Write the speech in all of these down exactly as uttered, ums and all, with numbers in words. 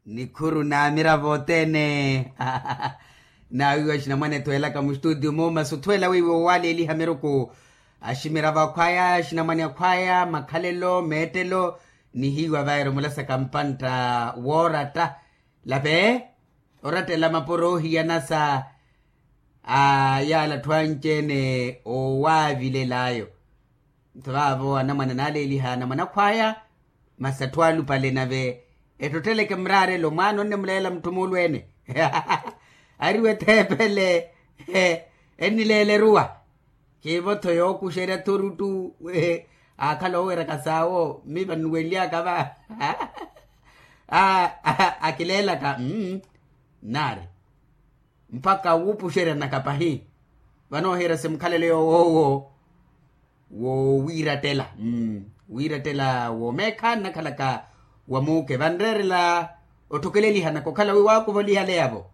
Nikhuru na miravo othene. Nawiiwa axinamwane ethuwelaka mustutio mu masi othwela wiiwa owaleeliha miruku, aximiravo akhwaya axinamwane akhwaya makhalelo meettelo. Nihiiwa vairo mulasaka mpantta wooratta, lave orattela mapuro ohiyana sa a yaala atthu anci-ene owaavilel'ayo. Nto vaavo anamwane anaaleeliha anamwane akhwaya, masi atthu alupale nave ettotteleke muraarelo mwaana onnemuleela mutthu muulweene. Ariwe etheepele ennileela eruwa. Kiivo-tho yookuxerya thuruttu. Aakhala ooweraka saawo mmipa nnuwenly'aka va. Akileelaka nnaari mpakha wuupuxeryana-ka pahi. Vanoohiira simukhalele yoowo owo wowiirattela, wiirattela woomeekha nnakhalaka wa muuke vanreerela otthokeleelihanaka okhala wi waakuva olihale yavo.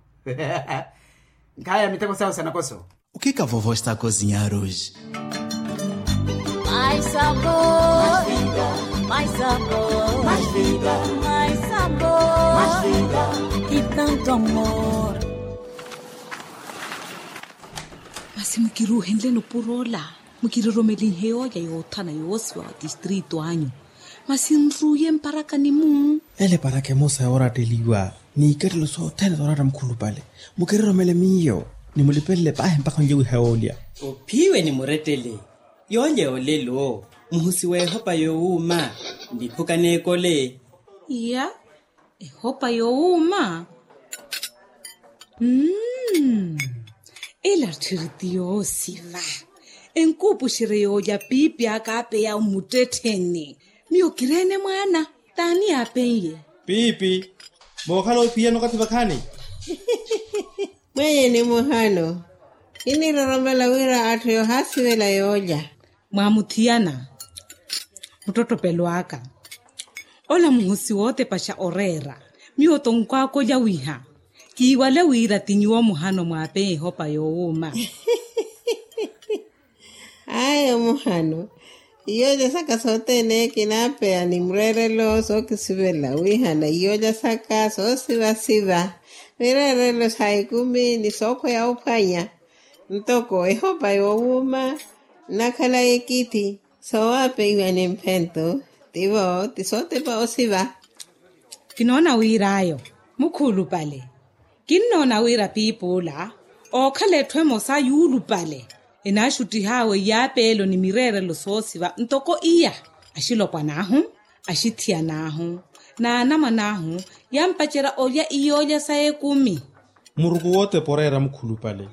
Nkhaya miteko sawo sa nakoso. O que que a vovó está a cozinhar hoje? Mais sabor, mais vida, mais sabor, mais vida, mais vida, mais vida, mais vida, e tanto amor. Masi mukiruuhenleni opuro ola, mukiroromelinhe yooja yoothana yoosiva wa tistrito anyu. Masi nruuye mparakani-mu. Ele paraka emosa yooratteliwa n'ikattelo sothene sooratta mukhulupale. Mukiroromele miyo, nimulipelele paahi mpakha onlye wiha yoolya. Ophiwe ni murettele. Yoolya yoolelo muhusi w'ehopa yoowuuma, niphuka n'ekole. Iya. Ehopa yoowuuma. Mmm. Ela tthiri ti yoosiva. Enkuupuxerye yoolya piipi aka aapeya mmuttettheni. Miyo kireene mwaana t'ani yaapen'ye? Piipi. Mookhala ophiyana okathi vakhaani? Mwenye ni muhano. Kiniroromela wira atthu yoohaasivela yoolya. Mwaamuthiyana muttottopelo aka. Ola muhusi wootepaxa oreera. Miyo-tho nkwaaka olya wiha. Kiiwale wira ti nyuwo muhano mwaapeya ehopa yoowuuma. Ayo muhano. Iyoolya saka sothene kinaapeya ni mureerelo sookisivela wihana iyoolya saka soosivasiva. Mireerelo sa ekumi ni sookhweya ophwanya. Ntoko ehopa yoowuuma nnakhala ekithi soowapeiwa ni mphento. Tivo ti sootepa osiva. Kinoona wir'ayo mukhuulupale. Kinnoona wira piipi ola ookhala etthu emosa yuulupale. Enaaxuttih'awe iyaapeelo ni mireerelo soosiva ntoko iya. Axilopwan'ahu, axithiyan'ahu, n'anamwan'ahu yampacerya olya iyoolya sa ekumi. Muruku wootepa oreera mukhulupale.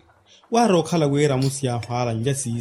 Waari okhala wira amusi yaahu aala nlya siiso.